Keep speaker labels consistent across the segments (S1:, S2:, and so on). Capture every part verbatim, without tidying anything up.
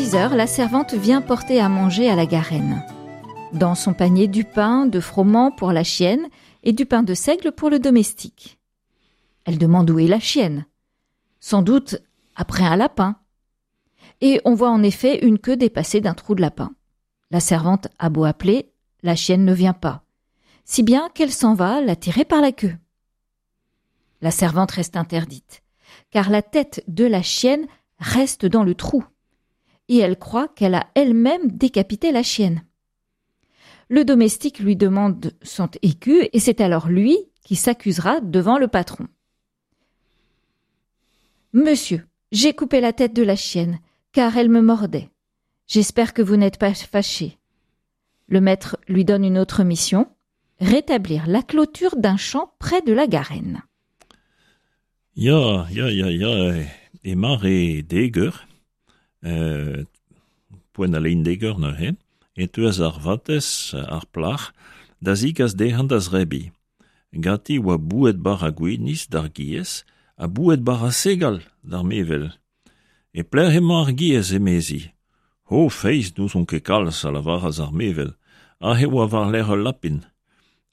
S1: six heures, la servante vient porter à manger à la Garenne. Dans son panier du pain de froment pour la chienne et du pain de seigle pour le domestique. Elle demande où est la chienne. Sans doute après un lapin. Et on voit en effet une queue dépasser d'un trou de lapin. La servante a beau appeler, la chienne ne vient pas, si bien qu'elle s'en va la tirer par la queue. La servante reste interdite, car la tête de la chienne reste dans le trou, et elle croit qu'elle a elle-même décapité la chienne. Le domestique lui demande son écu, et c'est alors lui qui s'accusera devant le patron. Monsieur, j'ai coupé la tête de la chienne, car elle me mordait. J'espère que vous n'êtes pas fâché. Le maître lui donne une autre mission, rétablir la clôture d'un champ près de la Garenne.
S2: Ya, ya, ya, ya, e mare dek eur, euh, poent al lein dek eur neuze, e teuas ar vatezh, ar plac'h, da zigas dezhañ da zebriñ. Ganti oa boued bara gwinizh d'ar giez ha boued bara segal d'ar mevel. E pelec'h emañ ar giez, emezi. Ho, feiz, n'ouzon ket kalz, a lavaras ar mevel. Aze oa war-lerc'h ul lapin.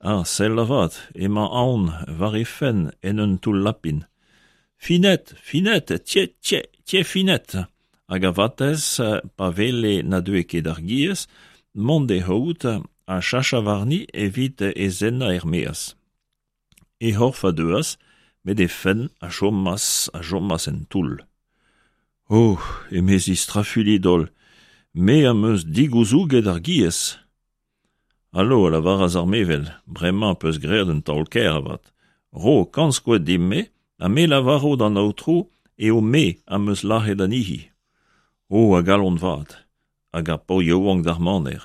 S2: Ah, sell avat, emañ aon war he fenn en un toull lapin. Finette, Finette, tiens, tiens, tiens, Finette. Hag ar vatezh, pa wele na deue ket ar giez, mont d'he c'haout ha sachañ warni evit he zennañ er-maez. He c'horf a deuas, met he fenn a chomas, a chomas en toull. Oh, emezi strafuilhet-holl, me am eus digouzouget ar giez. Alo, a lavaras ar mevel, bremañ peus graet un taol kaer avat. Ro kant skoed din-me, ha me lavaro d'an aotrou eo me am eus lazhet anezhi. Oh, a galon vat, hag ar paotr yaouank d'ar maner.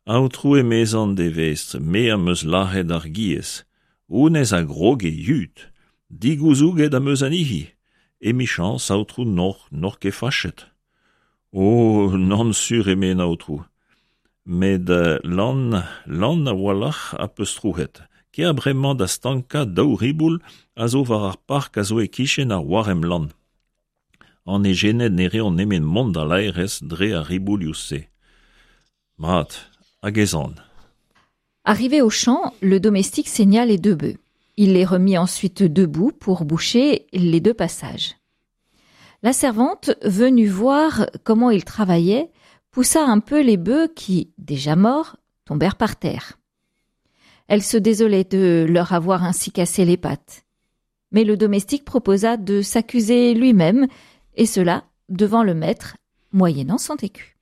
S2: Aotrou emezañ d'e vestr, me am eus lazhet ar giez. Honnezh a grog e yud. Digouzouget am eus anezhi. Emichañs, aotrou, n'oc'h n'oc'h ket fachet. Oh, nann sur eme an aotrou. Met lann, lann a-walc'h a peus trouc'het. Kea bremañ da stankañ daou riboul a zo war ar park a zo e-kichen ar waremm lann. An ejened ne reont nemet mont da laerezh dre ar riboulioù-se. Mat, hag ez an.
S1: Arrivé au champ, le domestique saigna les deux bœufs. Il les remit ensuite debout pour boucher les deux passages. La servante, venue voir comment il travaillait, poussa un peu les bœufs qui, déjà morts, tombèrent par terre. Elle se désolait de leur avoir ainsi cassé les pattes. Mais le domestique proposa de s'accuser lui-même, et cela devant le maître, moyennant cent écus.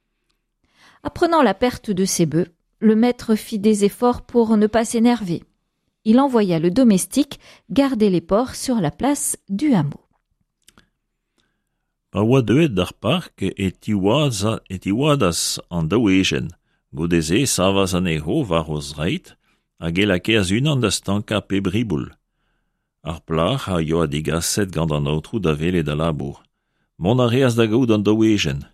S1: Apprenant la perte de ses bœufs, le maître fit des efforts pour ne pas s'énerver. Il envoya le domestique garder les porcs sur la place du hameau.
S2: Pa oa deuet d'ar park e tiwaza, e tiwadas an daou ejen. Goude-se e savas anezho war o zreid hag e lakaas unan da stankañ pep riboul. Ar plac'h a yoa digaset gant an aotrou da welet al labour. Mont a reas da gaout an daou ejen.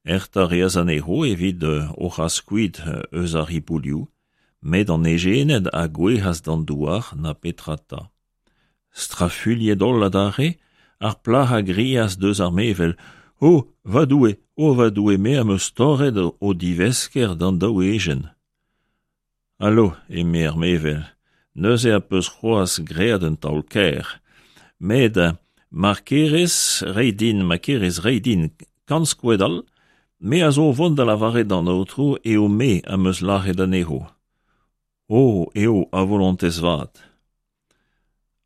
S2: Heñchañ a reas anezho evit o c'has kuit eus ar riboulioù, met an ejened a gouezhas d'an douar na petra 'ta. Strafuilhet-holl adarre, ar plac'h a grias deus ar mevel. Oh, va Doue, oh va Doue, me am eus torret o divesker d'an daou ejen. Alo, eme ar mevel, neuze a peus c'hoazh graet un taol kaer. Met mar kerez reiñ din, ma kerez reiñ din kant skoed all, me a zo o vont da lavaret d'an aotrou eo me am eus lazhet anezho. Oh, eo a volontez vat.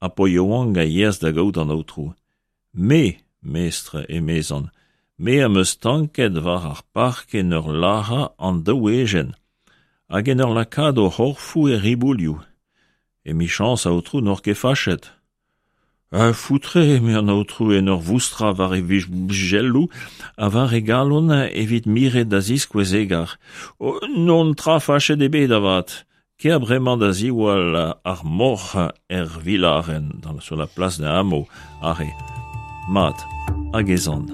S2: Ar paotr yaouank a yeas da gaout an aotrou. Me, mestr, emezan, me am eus stanket war ar park en ur lazhañ an daou ejen, hag en ur lakaat o c'horfoù er riboulioù. Emichañs, aotrou, n'oc'h ket fachet. Ah, foutre, eme an aotrou en ur voustrañ war e vijelloù ha war e galon evit miret da ziskouez egar. Oh, n'on tra fachet ebet avat. Kea bremañ da ziwall ar moc'h er vilarenn, dans, sur la place d'un hameau, aze. Mat, hag ez an.